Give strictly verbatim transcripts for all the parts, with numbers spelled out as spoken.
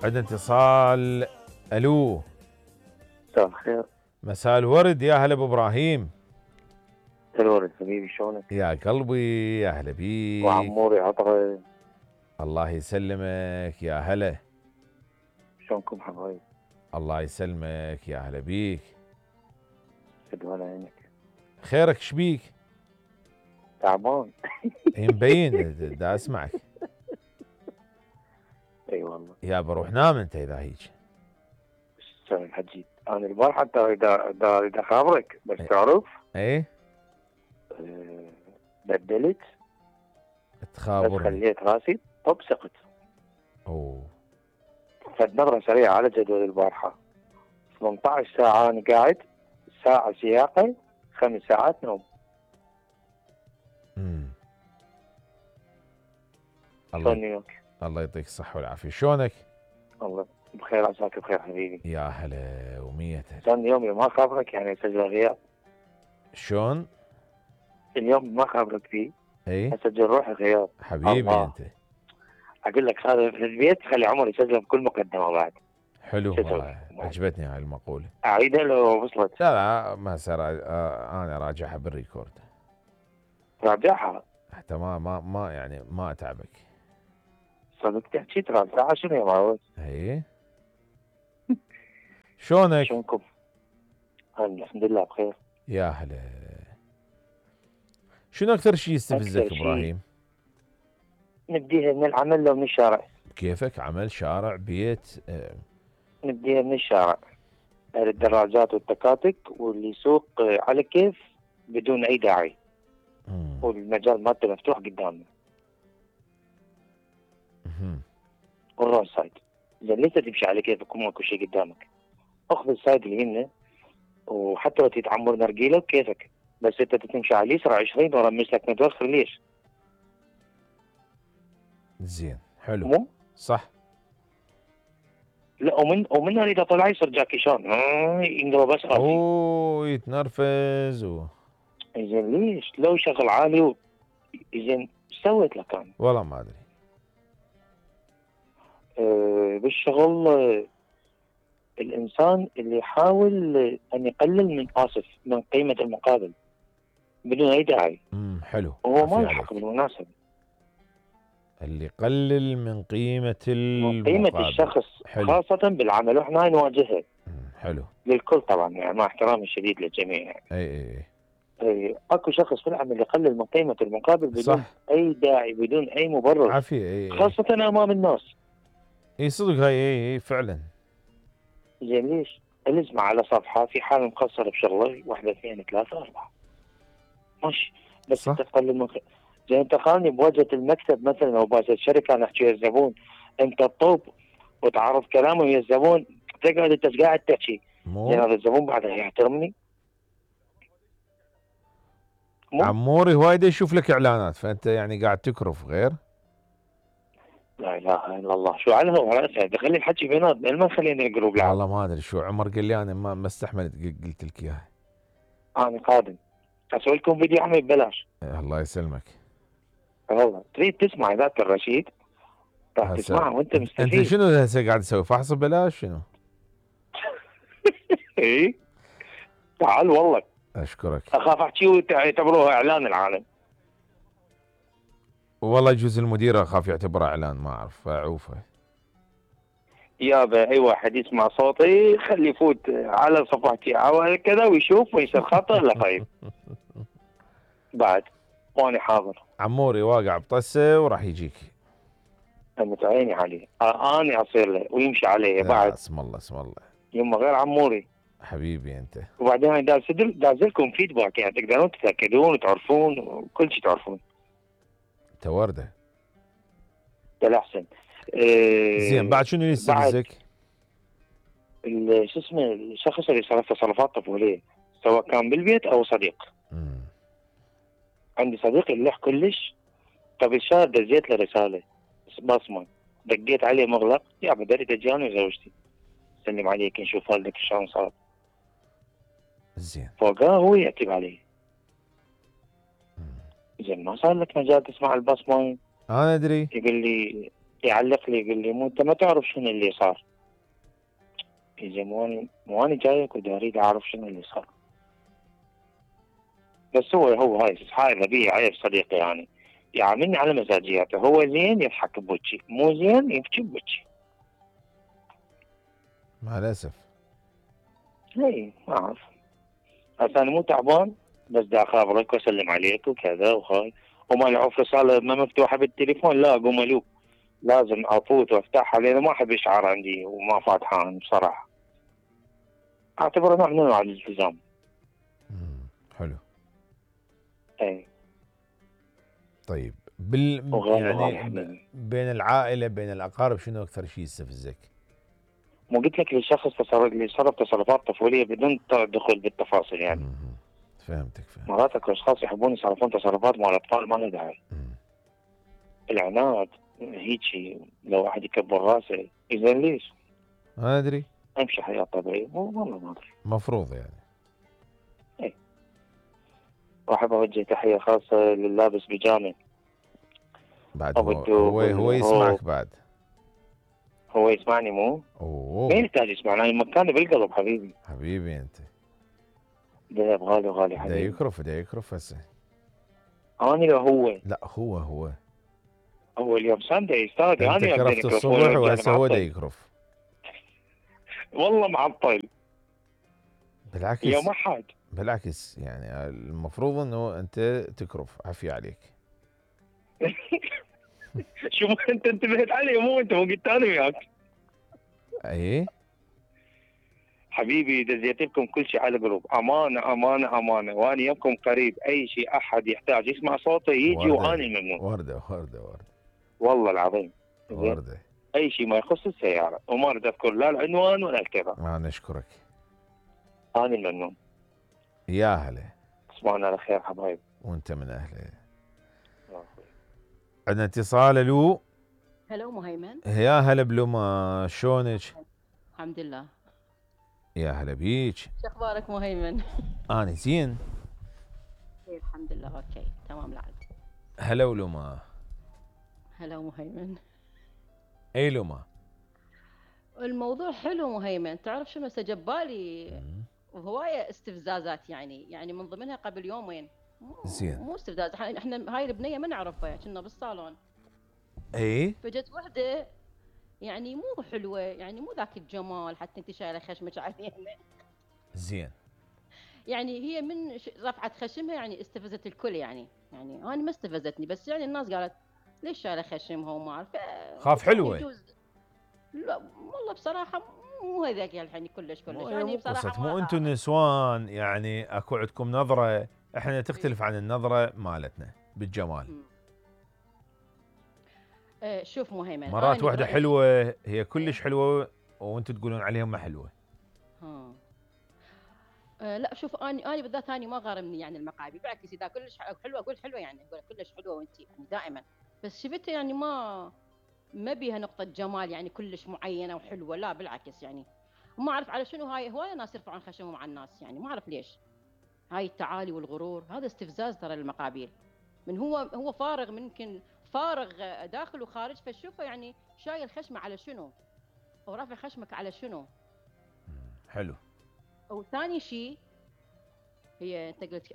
عندنا اتصال. الو، مساء الخير. مساء الورد، يا هلا ابو ابراهيم. الورد حبيبي، شلونك؟ يا قلبي يا هلا بيك. وعموري عطره. الله يسلمك، يا هلا. شلونكم حبايب؟ الله يسلمك، يا هلا بيك. شد على عينك. خيرك شبيك؟ تعبان. هي مبين، دا اسمعك. اي والله. يا بروح نام انت اذا هيك. شلون الحجي؟ انا البارحه اذا اذا خابرك بس تعرف. ايه أه بدلت. تخابر. بس خليت راسي طب سقط. اوه. فد نظره سريعه على جدول البارحه. ثمانية عشر ساعه انا قاعد، ساعه سياقه، خمس ساعات نوم. امم شلون نيوك؟ الله يعطيك الصحه والعافيه، شلونك؟ الله بخير، عساك بخير حبيبي. يا هلا ومية هلا. شلون يومي ما خابرك يعني اسجل غياب؟ شلون؟ اليوم ما خابرك فيه. اي اسجل روحي غياب. حبيبي الله. انت. اقول لك هذا في البيت خلي عمر يسجل بكل مقدمه بعد. حلو والله، عجبتني هاي المقوله. اعيدها لو وصلت؟ لا لا ما صار، آه انا راجعها بالريكورد. راجعها حتى ما ما ما يعني ما اتعبك. صدق تحكي ترى ساعه شنو يا معود؟ اي شلونك؟ شلونكم؟ الحمد لله بخير. يا هلا. شنو اكثر شيء يستفزك أكثر شي ابراهيم؟ نبديها من العمل لو من الشارع؟ كيفك؟ عمل، شارع، بيت؟ آه. نبديها من الشارع. اهل الدراجات والتكاتك واللي يسوق على كيف بدون اي داعي. مم. والمجال مالته مفتوح قدامنا. مم. والرون سايد. زين ليش تمشي على كيفك وماكو شيء قدامك؟ اخذ السايد اللي يمنى، وحتى لو تتعمر نرجيله بكيفك، بس انت تمشي على اليسرى عشرين ورا مسلك متوخر ليش؟ زين حلو. مو؟ صح. لا ومن ومن اذا طلع يصير جاكي شان ينقلب بس راسي. اوه يتنرفز و... زين ليش؟ لو شغل عالي و... زين ايش سويت لك انا؟ والله ما ادري. أه بالشغل أه الانسان اللي يحاول ان يقلل من اسف من قيمه المقابل بدون اي داعي. امم حلو. وهو ما يلحق بالمناسبه. اللي يقلل من قيمه المقابل، من قيمه الشخص. حلو. خاصه بالعمل واحنا نواجهها. حلو. للكل طبعا يعني مع احترامي الشديد للجميع يعني. اي اي اي اكو شخص في العمل يقلل من قيمه المقابل بدون صح. اي داعي، بدون اي مبرر. عافيه. اي خاصه امام الناس. اي صدق هاي. اي اي فعلا. زين ليش؟ الزمه على صفحه في حال مقصر بشغله، واحده اثنين ثلاثه اربعه. ماشي. بس صح. انت تقلل من زين انت خلني بواجهه المكتب مثلا او بواجهه الشركه انا احكي الزبون، انت تطوب وتعرف كلامه ويا الزبون، تقعد انت قاعد تحكي. زين هذا الزبون بعده يحترمني؟ مو؟ عموري وايد يشوف لك اعلانات، فانت يعني قاعد تكرف غير. لا اله الا الله، شو على هو راسه خلي الحكي بيناتنا، ما خلينا الجروب لعب. والله ما ادري شو عمر قال لي، انا ما ما استحملت قلت لك اياها. انا قادم اسوي لكم فيديو عمي ببلاش. الله يسلمك. والله تريد تسمع ذاك الرشيد راح تسمعه وانت مستفيد. انت شنو هسه قاعد تسوي؟ فحص ببلاش شنو؟ اي تعال والله. اشكرك. اخاف احكي ويعتبروها اعلان العالم. والله يجوز المدير اخاف يعتبره اعلان، ما اعرف اعوفه. يابا اي واحد يسمع صوتي خلي يفوت على صفحتي او كذا ويشوف ويصير خطا لا طيب. بعد وانا حاضر. عموري واقع بطسه وراح يجيك. انت عيني عليه. آه انا اصير له ويمشي علي بعد. اسم الله اسم الله. يما غير عموري. حبيبي انت. وبعدين دازلكم فيدباك يعني تقدرون تتاكدون وتعرفون وكل شيء تعرفون. انت ورده. ده احسن. إيه زين بعد شنو يستفزك؟ شو اسمه الشخص اللي صرف تصرفات طفوليه سواء كان بالبيت او صديق. مم. عندي صديق يلح كلش. قبل شهر دزيت له رساله بصمه، دقيت عليه مغلق، يا بدري دجاني وزوجتي سلم عليك نشوف والدك شلون صار. زين فوقاه هو يعتب علي. زين ما صار لك مجال تسمع البصمه؟ انا ادري. يقول لي يعلق لي يقول لي مو انت ما تعرف شنو اللي صار. يا زين مو اني مو اني جايك ودي اريد اعرف شنو اللي صار. بس هو هو هاي هاي غبية عيب صديقي يعني يعاملني على مزاجياته، هو زين يضحك بوجهي، مو زين يبكي بوجهي. مع الاسف. اي ما اعرف. هسه انا مو تعبان بس دا اخابرك واسلم عليك وكذا وهاي، وما يعرف رسالة ما مفتوحة بالتليفون لا اقوم الوب، لازم افوت وافتحها لان ما احب اشعار عندي وما فاتحان بصراحة. اعتبره نوع من انواع الالتزام. مم. حلو. اي. طيب بال وغالي غالي يعني ب... حبيبي. بين العائله بين الاقارب شنو اكثر شيء يستفزك؟ مو قلت لك الشخص تصرف اللي يتصرف تصرفات طفولية بدون دخول بالتفاصيل يعني. مم. فهمتك فهمت. مرات اكو اشخاص يحبون يصرفون تصرفات مال اطفال ما له داعي. مم. العناد هيجي لو واحد يكبر راسه اذا ليش؟ ما ادري. امشي حياة طبيعية والله ما ادري. مفروض يعني. اي. واحب اوجه تحية خاصة لللابس بيجامة. بعد ابو هو الدوب هو, هو يسمعك بعد. هو يسمعني مو؟ اوه ما يحتاج يسمعني، انا مكاني بالقلب حبيبي. حبيبي انت. دهب غالي غالي دا حبيبي. يكرف دا يكرف هسه. انا لو هو لا هو هو هو اليوم ساندي استاذ انت انا كرفت الصبح وهسه هو دا يكرف. والله معطل. بالعكس يوم احد. بالعكس يعني المفروض انه انت تكرف. عافية عليك. شو انت انتبهت علي مو انت مو قلت انا وياك. ايه حبيبي دزيت لكم كل شيء على الجروب، امانه امانه امانه، وانا يمكم قريب اي شيء احد يحتاج يسمع صوتي يجي وانا الممنون. ورده ورده ورده والله العظيم. ورده. اي شيء ما يخص السياره وما اريد اذكر لا العنوان ولا الكذا. ما نشكرك. انا الممنون. يا هلا. تصبحون على خير حبايب. وانت من اهله. عندنا اتصال. الو. هلو مهيمن. يا هلا بلوما شلونك؟ الحمد لله. يا هلا بيك. شو اخبارك مهيمن؟ انا زين. إيه الحمد لله اوكي تمام العاد. هلا ولوما. هلا مهيمن. اي لوما. الموضوع حلو مهيمن، تعرف شنو هسه جبالي هوايه استفزازات يعني يعني من ضمنها قبل يومين. زين. مو استفزاز، احنا هاي البنيه ما نعرفها كنا بالصالون. اي. فجت وحده يعني مو حلوه يعني مو ذاك الجمال حتى انت شايله خشمك علينا. زين. يعني هي من رفعت خشمها يعني استفزت الكل يعني يعني انا ما استفزتني بس يعني الناس قالت ليش شايله خشمها وما اعرف. خاف حلوه. يجوز. لا والله بصراحه مو هذاك الحين كلش كلش مو يعني بصراحه مو انتم نسوان يعني اكو عندكم نظره، احنا تختلف عن النظره مالتنا بالجمال. أه شوف مهيمن مرات واحده حلوه هي كلش حلوه وانتم تقولون عليها ما حلوه. ها أه لا شوف اني اني بالذات اني ما غارمني يعني المقابي، بالعكس اذا كلش حلوه اقول حلوه يعني اقول كلش حلوه وانت يعني دائما، بس شفتها يعني ما ما بيها نقطه جمال يعني كلش معينه وحلوه، لا بالعكس يعني ما اعرف على شنو هاي هوايه ناس يرفعون خشمهم على الناس يعني ما اعرف ليش. هاي التعالي والغرور هذا استفزاز ترى للمقابيل. من هو هو فارغ ممكن فارغ داخل وخارج، فشوفه يعني شايل خشمه على شنو؟ او رافع خشمك على شنو؟ حلو. وثاني شيء هي انت قلت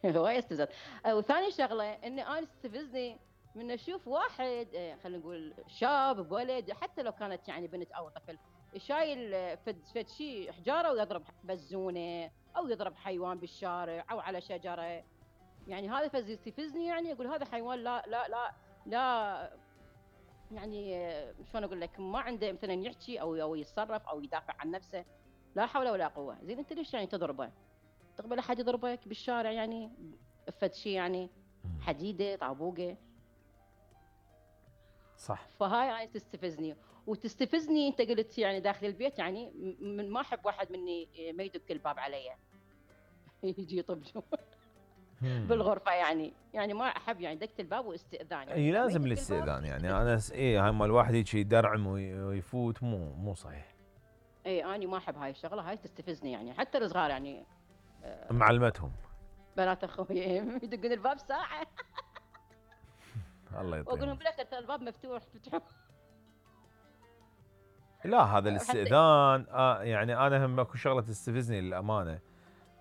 هوايه استفزاز. وثاني شغله اني انا استفزني من اشوف واحد خلينا نقول شاب بولد حتى لو كانت يعني بنت او طفل شايل فد فد شيء حجاره ويضرب بزونه او يضرب حيوان بالشارع او على شجره، يعني هذا فز يستفزني يعني اقول هذا حيوان لا لا لا لا يعني شلون اقول لك ما عنده مثلا يحكي او او يتصرف او يدافع عن نفسه، لا حول ولا قوه. زين انت ليش يعني تضربه؟ تقبل احد يضربك بالشارع يعني فد شيء يعني حديده طابوقه؟ صح. فهاي هاي تستفزني وتستفزني انت قلت يعني داخل البيت يعني من ما احب واحد مني ما يدق الباب علي يجي يطب بالغرفه يعني يعني ما احب يعني دقت الباب واستئذان يعني. اي لازم الاستئذان يعني انا اي هاي مال الواحد يجي يدرعم ويفوت مو مو صحيح. اي انا ما احب هاي الشغله، هاي تستفزني يعني حتى الصغار يعني آه معلمتهم بنات اخوي يدقون الباب ساعه الله يطيعهم واقول لهم بالاخر ترى الباب مفتوح فتحوا لا هذا حتى الاستئذان آه يعني انا هم اكو شغله تستفزني للامانه،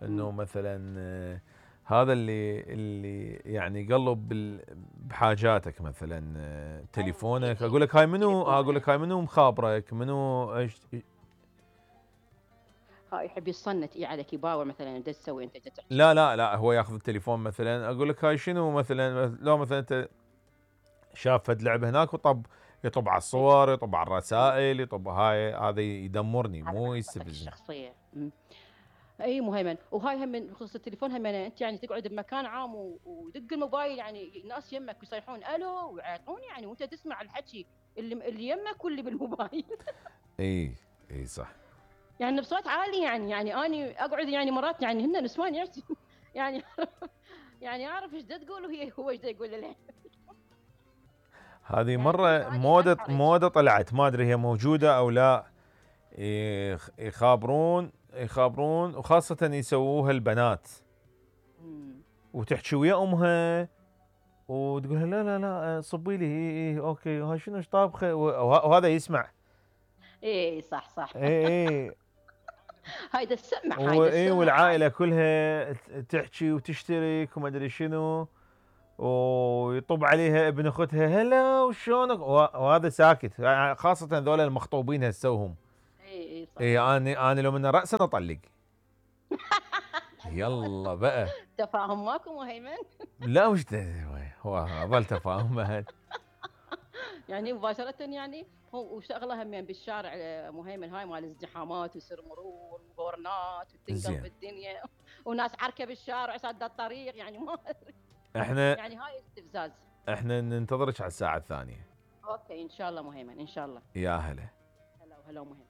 انه مم. مثلا آه، هذا اللي اللي يعني يقلب بال- بحاجاتك مثلا آه، تليفونك، إي، اقول لك هاي منو، تليفونه. اقول لك هاي منو مخابرك منو ايش. هاي يحب يصنت اي عليك، يباور مثلا ايش تسوي انت تحكي. لا لا لا هو ياخذ التليفون مثلا، اقول لك هاي شنو مثلا، لو مثلا انت شاف فد لعبه هناك وطب يطب على الصور، يطب على الرسائل، يطب هاي، هذا يدمرني على مو محفظتك يستفزني. الشخصيه. مم. اي مهيمن، وهاي هم من بخصوص التليفون هم انت يعني تقعد بمكان عام و- ودق الموبايل، يعني ناس يمك يصيحون الو ويعيطون يعني، وانت تسمع الحكي اللي اللي يمك واللي بالموبايل. اي اي صح. يعني بصوت عالي، يعني يعني اني اقعد يعني مرات يعني هن نسوان يعطي يعني يعني اعرف ايش دا تقول وهي هو ايش دا يقول لها. هذه يعني كل مره ثانيه موده انحرج. موده طلعت، ما ادري هي موجوده او لا، يخ- يخابرون يخابرون وخاصه يسووها البنات، مم. وتحكي ويا امها وتقول لها لا لا لا صبي لي، اي اي اوكي، وها شنو ايش طابخه، وه- وهذا يسمع. ايه صح صح. اي اي هاي دا تسمع، هاي دا واي تسمع هاي. والعائله كلها ت- تحكي وتشترك وما ادري شنو، ويطب عليها ابن اختها هلا وشلونك، وه- وهذا ساكت، يعني خاصه ذول المخطوبين هسوهم. ايه ايه صح اي صح. انا انا لو من راسا اطلق. يلا بقى. تفاهم ماكو مهيمن. لا وش ده- هو ظل تفاهم بعد. يعني مباشرة يعني هو وشغلة هم يعني بالشارع آه، مهيمن، هاي مال ازدحامات ويصير مرور وغورنات وتنقلب زين الدنيا وناس عركة بالشارع سد الطريق، يعني ما احنا يعني هاي استفزاز. احنا ننتظرك على الساعه الثانيه. اوكي ان شاء الله مهيمن ان شاء الله. يا هلا. هلا وهلا مهيمن.